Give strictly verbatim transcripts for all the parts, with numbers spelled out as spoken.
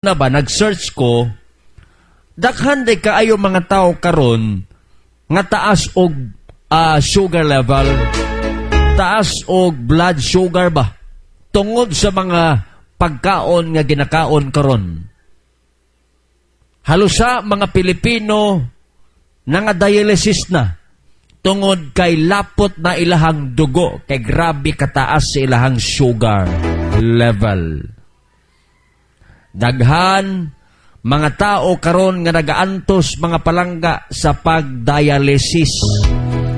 Na ba, nag-search ko, daghan day kaayo mga tao karon nga taas og ah, sugar level, taas og blood sugar ba, tungod sa mga pagkaon nga ginakaon karon. Halos sa mga Pilipino nga dialysis na tungod kay lapot na ilahang dugo kay grabe kataas sa ilahang sugar level. Daghan mga tao karon nga nagaantos, mga palangga, sa pagdialysis.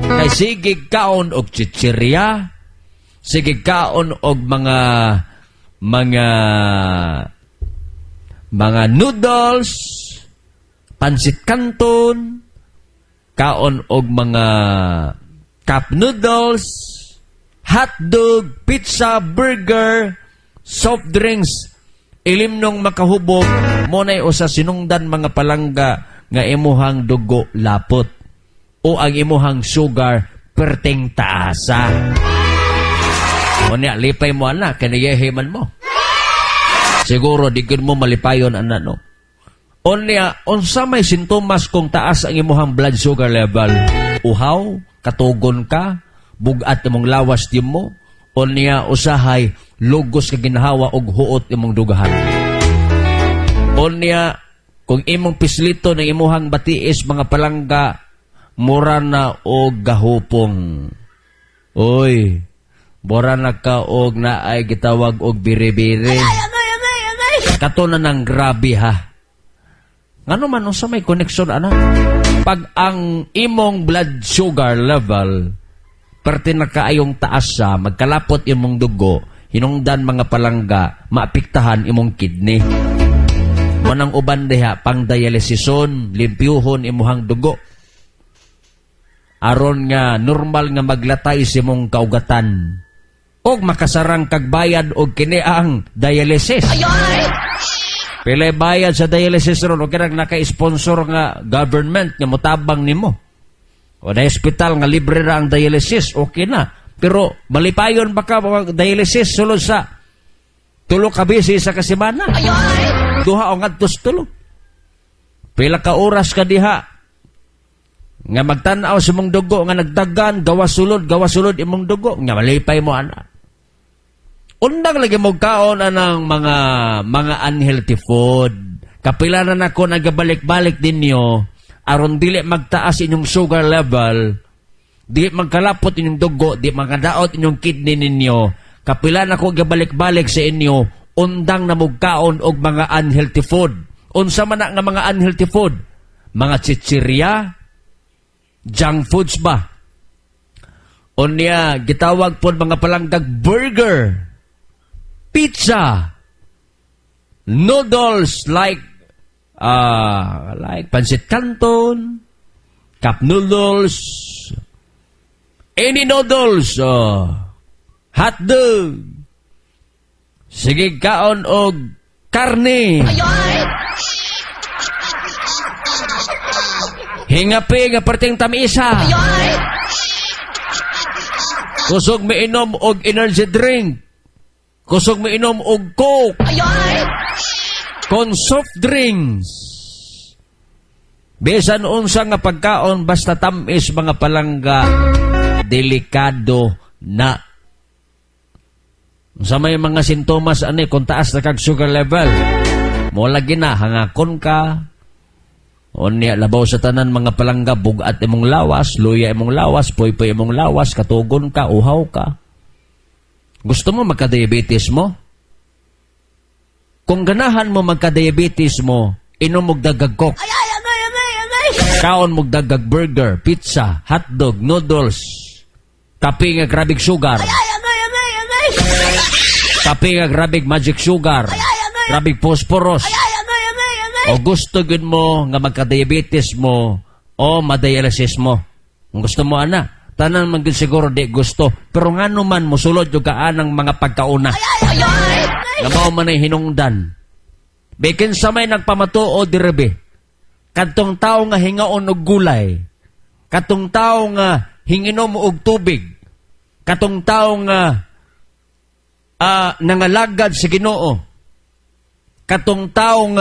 Kay sige kaon og chichirya, sige kaon og mga mga mga noodles, pansit canton, kaon og mga cup noodles, hotdog, pizza, burger, soft drinks, ilimnong makahubog mo na'y usa sinungdan, mga palangga, nga imuhang dugo lapot o ang imuhang sugar perting taasa. Unya, lipay mo ana, kaniyehe man mo. Siguro, di gud mo malipayon ana, no? Unya, unsa may sintomas kung taas ang imuhang blood sugar level? Uhaw, katugon ka, bugat imong lawas di mo, unya usahay lugos ka ginhawa og huot imong dugahan. Unya, kung imong pislito ng imuhang batiis, mga palangga, mura na og gahupong. Oy, mura na ka og naay gitawag og biri-biri. Kato na ng grabe ha. Ngano man, unsa may connection ana? Pag ang imong blood sugar level perti na kaayong taas sa magkalapot imong dugo, hinungdan, mga palangga, maapektahan imong kidney. Manang uban diha pang dialysison, limpyuhon imuhang dugo. Aron nga normal nga maglatay sa imong kaugatan. Og makasarang kag bayad og kini ang dialysis. Pila bayad sa dialysis ron? O kanang naka-sponsor nga government nga motabang nimo. O na ospital nga libre ra ang dialysis, okay na. Pero malipayon ba ka mag dialysis sulod sa tulo ka beses sa kasemana? Duha o ngadtos tulo. Pila ka oras ka diha nga magtan-aw sa imong dugo nga nagdagan, gawa sulod, gawa sulod imong dugo, nga malipay mo ana? Undang lagi mo kaon anang mga mga unhealthy food. Kapila na nako nagabalik-balik ninyo aron dili magtaas inyong sugar level, di magkalapot inyong dugo, di magkadaot inyong kidney ninyo. Kapila na ko gabalik-balik sa inyo, undang na mugkaon og mga unhealthy food. Unsa man na nga mga unhealthy food? Mga chichirya, junk foods ba? Unya, gitawag po mga palanggag burger, pizza, noodles like uh, like pancit canton, cup noodles, any noodles, uh, hot dog, sige kaon og karne. Hingapi nga perting tamisa. Kusog miinom og energy drink. Kusog miinom og Coke. Kon soft drinks. Bisan unsa nga pagkaon basta tamis, mga palangga, delikado na. Sa may mga sintomas ani kung taas na kag sugar level? Mo lagi na hangakon ka. Unya, labaw sa tanan, mga palangga, bugat imong lawas, luya imong lawas, poypoy imong lawas, katugon ka, uhaw ka. Gusto mo magka-diabetes mo? Kung ganahan mo magka-diabetes mo, inom og dagag Coke. Kaon mo dagag burger, pizza, hotdog, noodles, kape nga grabig sugar. Kape nga grabig magic sugar. Grabig phosphorus. O gusto gud mo nga magka-diabetes mo o madialysis mo? Kung gusto mo ana, tanan man gud siguro di gusto. Pero ngano man mosulod yung kaanang mga pagkauna? Nga mao man ay hinungdan. Bikin sa may nagpamatuod direbe. Kadtong tao nga hingaon og gulay. Katong tao nga hinginom og tubig. Katong tao nga uh, nangalagad sa Ginoo. Katong taong